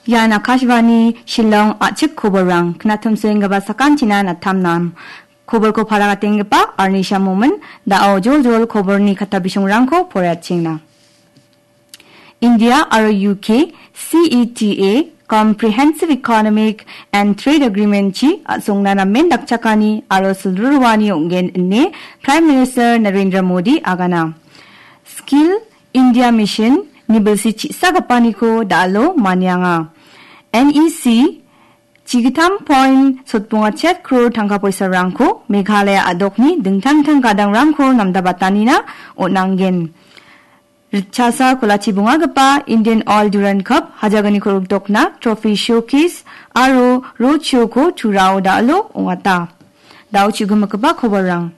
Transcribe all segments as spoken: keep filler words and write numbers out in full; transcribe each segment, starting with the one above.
Ian Akashvani Shillong a·chik koborrang, knatumsoenggipa sakantina natamnam. Koborko paragatenggipa Arnisha Momin, da·o joljol koborni katabisongrangko poraiatchengna. India aro U K C E T A, Comprehensive Economic and Trade Agreement-chi a·songna namen dakchakani aro silruruani ong·gen ine Prime Minister Narendra Modi agana. Skill India Mission ni bilsi chi·sagipaniko da·alo manianga. N E C chigittam point sotbonga chet crore tangka poisarangko Meghalaya a·dokni dingtang dingtang gadangrangko namdabatanina on·angen. Ritchasa kolachi bongagipa Indian Oil Durand Cup hajaganiko rikdokna trophy showcase aro road show-ko Turao da·alo ong·ata. Da·o chigimikgipa koborrang.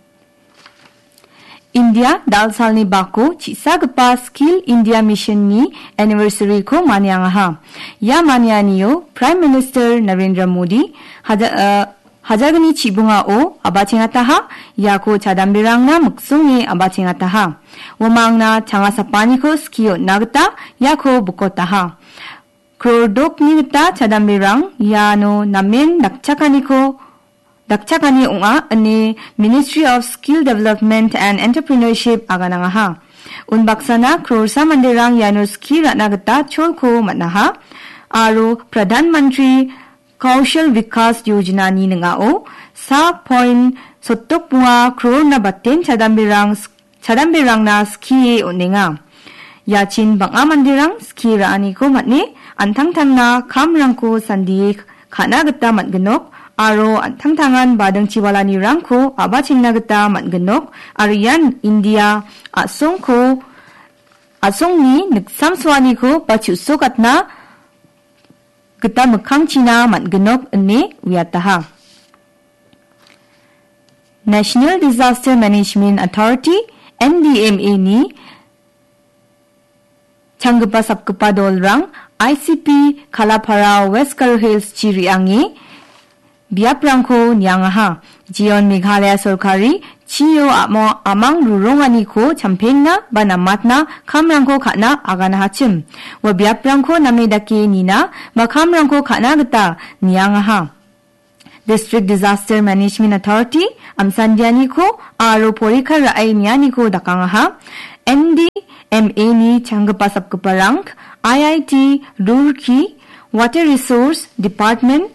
India dal salni bako chi·sagipa Skill India Mission-ni anniversary-ko maniangaha. Ia manianio Prime Minister Narendra Modi haja-, eh, hajalgni chibongao abachengataha, iako chadamberangna miksonge abachengataha. Uamangna changasapaniko skie on·na gita iako bikotaha. Crore dokni gita chadamberang iano namen dakchakaniko, dakchakani ong·a ine Ministry of Skill Development and Entrepreneurship aganangaha. Unbaksana croresa manderang iano skie ra·na gita cholko man·aha. Aro Pradhan Mantri Kaushal Vikas Yojana-ni ning·ao sa point sotdok bonga crore-na baten chadamberang, chadamberangna skie on·enga. Iachin bang·a manderang skie ra·aniko man·e, an·tangtangna kamrangko sandie ka·na gita man·ginok aro an·tangtangan badingchiwalanirangko a·bachengna gita man·ginok aro ian India a·songko, a·songni niksamsoaniko ba chu·sokatna gita mikkangchina man·ginok ine uiataha. National Disaster Management Authority, N D M A-ni changgipa sapgipa dolrang I C P Kalapara West Garo Hills-chi re·ange biaprangko niangaha. Jeon Meghalaya sorkari chio amo-, amang ruronganiko champengna ba namatna kamrangko ka·na aganahachim. Ua biaprangko name dake nina ba kamrangko ka·na gita niangaha. District Disaster Management Authority, Amsandianiko aro porikar ra·e nianiko dakangaha. N D M A-ni changgipa sapgiparang, I I T Roorkee, Water Resource Department,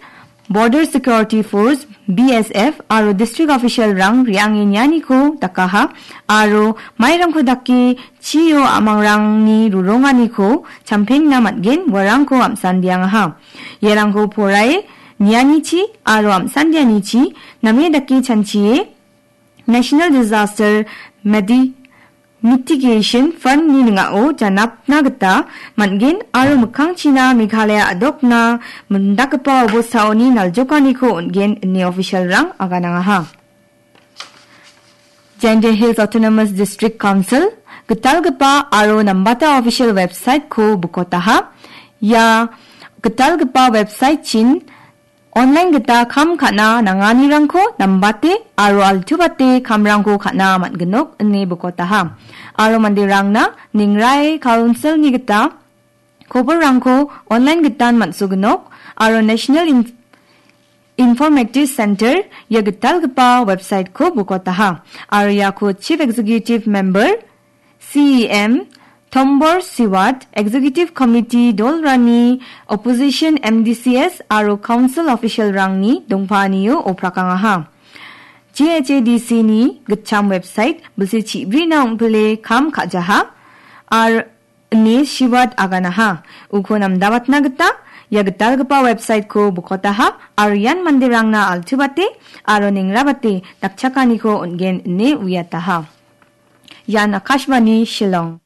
Border Security Force, B S F aro district official-rang re·ange nianiko dakaha aro mairangko dake chio amangrangni ruronganiko champengna man·gen uarangko am·sandiangaha. Iarangko porae nianichi aro am·sandianichi name dake chanchie National Disaster Medi-, Mitigation Fund-ni ning·ao janapna gita man·gen aro mikkangchina Meghalaya a·dokna mindakgipa obostaoni naljokaniko on·gen ine official-rang aganangaha. Jaintia Hills Autonomous District Council gitalgipa aro nambata official website-ko bikotaha. Ia gitalgipa website-chin online gita kam ka·na nanganirangko nambate aro altuate kamrangko ka·na man·ginok ine bikotaha. Aro manderangna Ningrai Council-ni gita koborrangko online gitan man·soginok aro National Inf-, Informative Center ia gitalgipa website-ko bikotaha. Aro iako Chief Executive Member, C E M, Tombor Siwat, Executive Committee dolrangni Opposition M D C S aro Council Official-rangni dongpaanio oprakangaha. J H A D C-ni gitcham website bilsi chibrina ong·pile kam ka·jaha. Ar- ine Siwat aganaha. Uko namdabatna gita ia gitalgipa website-ko bikotaha aro ian manderangna altubate aro nengrabate dakchakaniko on·gen ine uiataha. Ian Akashvani Shillong.